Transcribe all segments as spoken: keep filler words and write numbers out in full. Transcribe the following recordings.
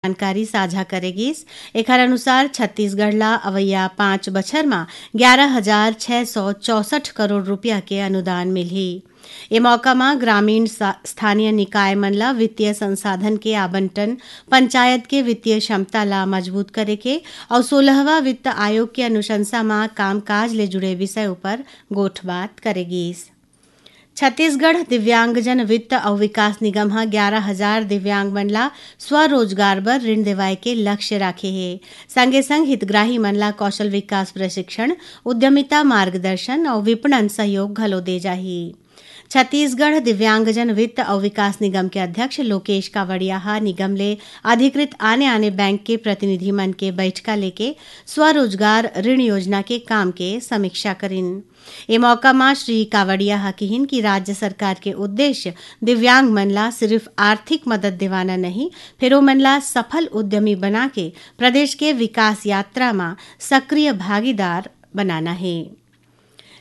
जानकारी साझा करे गिस। एखर अनुसार, छत्तीसगढ़ ला अवइया पाँच बछर म ग्यारह हजार छह सौ चौसठ करोड़ रुपया के अनुदान मिलही। ए मौका म ग्रामीण सा-, स्थानीय निकाय मन ला वित्तीय संसाधन के आवंटन, पंचायत के वित्तीय क्षमता ला मजबूत करे के अउ सोलहवाँ वित्त आयोग के अनुशंसा म कामकाज ले जुड़े विषय उपर गोठबात करे गिस। छत्तीसगढ़ दिव्यांगजन वित्त अउ विकास निगम ह ग्यारह हजार दिव्यांग मन ला स्वरोजगार बर ऋण देवाय के लक्ष्य राखे हे। संगे संग हितग्राही मन ला कौशल विकास प्रशिक्षण, उद्यमिता मार्गदर्शन अउ विपणन सहयोग घलो दे जाही। छत्तीसगढ़ दिव्यांगजन वित्त अउ विकास निगम के अध्यक्ष लोकेश कावड़िया ह निगम ले अधिकृत आने-आने बैंक के प्रतिनिधि मन के बैठका लेके स्वरोजगार ऋण योजना के काम के समीक्षा करिन। ए मौका म श्री कावड़िया ह किहिन कि राज्य सरकार के उद्देश्य दिव्यांग मन ला सिर्फ आर्थिक मदद देवाना नहीं, फेर ओमन ला सफल उद्यमी बना के प्रदेश के विकास यात्रा म सक्रिय भागीदार बनाना हे।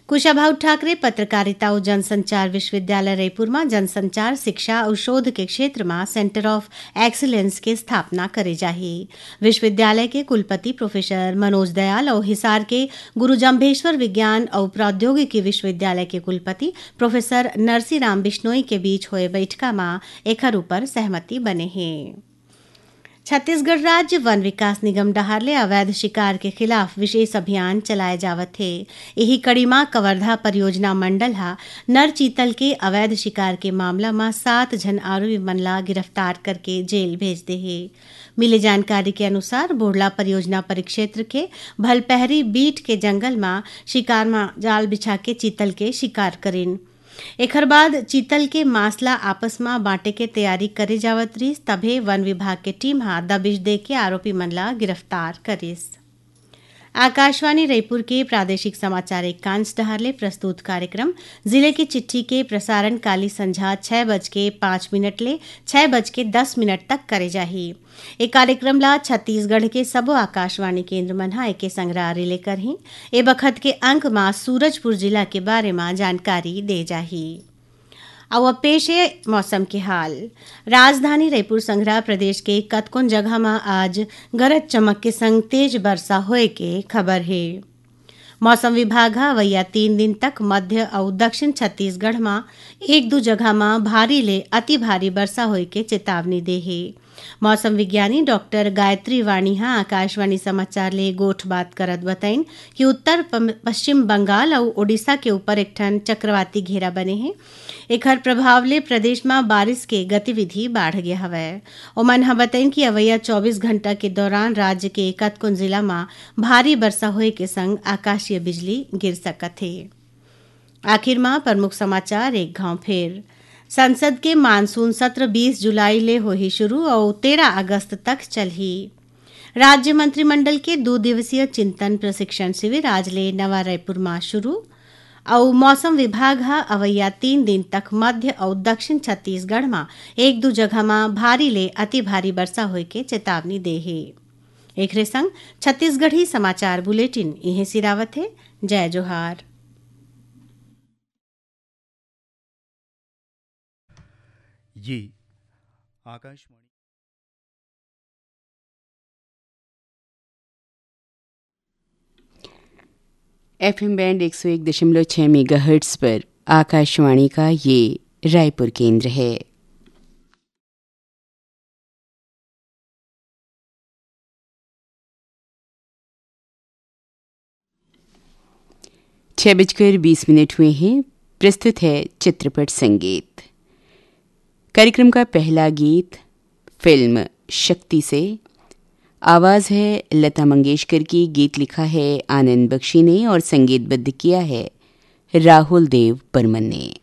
कुशाभाऊ ठाकरे पत्रकारिता अउ जनसंचार विश्वविद्यालय रईपुर म जनसंचार, शिक्षा अउ शोध के क्षेत्र म Centre of Excellence के स्थापना करे जाही। विश्वविद्यालय के कुलपति प्रोफेसर मनोज दयाल अउ हिसार के गुरु जम्भेश्वर विज्ञान अउ प्रौद्योगिकी विश्वविद्यालय के कुलपति प्रोफेसर नरसी राम बिश्नोई के बीच होए बइठका म एखर ऊपर सहमति बने हे। छत्तीसगढ़ राज्य वन विकास निगम डहार ले अवैध शिकार के खिलाफ विशेष अभियान चलाए जावत हे। इही कड़ी म कवर्धा परियोजना मंडल ह नर चीतल के अवैध शिकार के मामला म सात झन आरोपी मन ला गिरफ्तार करके जेल भेज दे हे। मिले जानकारी के अनुसार, बोड़ला परियोजना परिक्षेत्र के भलपहरी बीट के जंगल म शिकार म जाल बिछा के चीतल के शिकार करिन। एखर बाद चीतल के मांस ला आपस म बांटे के तैयारी करे जावत रिहिस, तभे वन विभाग के टीम ह दबिश दे के आरोपी मन ला गिरफ्तार करिस। आकाशवाणी रईपुर के प्रादेशिक समाचार एकांश डहार ले प्रस्तुत कार्यक्रम जिले की चिट्ठी के प्रसारण काली संझा छह बज के पाँच मिनट ले छह बज के दस मिनट तक करे जाही। ए कार्यक्रम ला छत्तीसगढ़ के सबो आकाशवाणी केंद्र मन ह एके संघरा रिले करही। ए बखत के अंक म सूरजपुर जिला के बारे म जानकारी दे जाही। अउ अब पेश हे मौसम के हाल। राजधानी रईपुर संघरा प्रदेश के कतकोन जगह म आज गरज चमक के संग तेज बरसा होए के खबर हे। मौसम विभाग ह अवइया तीन दिन तक मध्य अउ दक्षिण छत्तीसगढ़ म एक दू जगह म भारी ले अति भारी बरसा होए के चेतावनी दे हे। मौसम विज्ञानी डॉक्टर गायत्री वाणी ह आकाशवाणी समाचार ले गोठबात करत बतइन कि उत्तर पम-, पश्चिम बंगाल अउ ओडिशा के ऊपर एक ठन चक्रवाती घेरा बने हे। एखर प्रभाव ले प्रदेश म बारिश के गतिविधि बाढ़ गे हवय। ओमन ह बतइन कि अवइया चौबीस घंटा के दौरान राज्य के कतकोन जिला म भारी बरसा होए के संग आकाशीय बिजली गिर सकत हे। आखिर म प्रमुख समाचार एक घांव फेर। संसद के मानसून सत्र बीस जुलाई ले होही शुरू अउ तेरह अगस्त तक चलही। राज्य मंत्रिमंडल के दू दिवसीय चिंतन प्रशिक्षण शिविर आज ले नवा रायपुर म शुरू। अउ मौसम विभाग ह अवइया तीन दिन तक मध्य अउ दक्षिण छत्तीसगढ़ म एक दू जगह म भारी ले अति भारी बरसा होए के चेतावनी दे हे। एखरे संग छत्तीसगढ़ी समाचार बुलेटिन इहें सिरावत हे। जय जोहार। ये आकाशवाणी। एफएम बैंड एक सौ एक दशमलव छह मेगाहर्ट्ज़ पर आकाशवाणी का ये रायपुर केंद्र है। छह बजकर बीस मिनट हुए हैं। प्रस्तुत है चित्रपट संगीत। कार्यक्रम का पहला गीत फिल्म शक्ति से। आवाज़ है लता मंगेशकर की। गीत लिखा है आनंद बख्शी ने और संगीतबद्ध किया है राहुल देव बर्मन ने।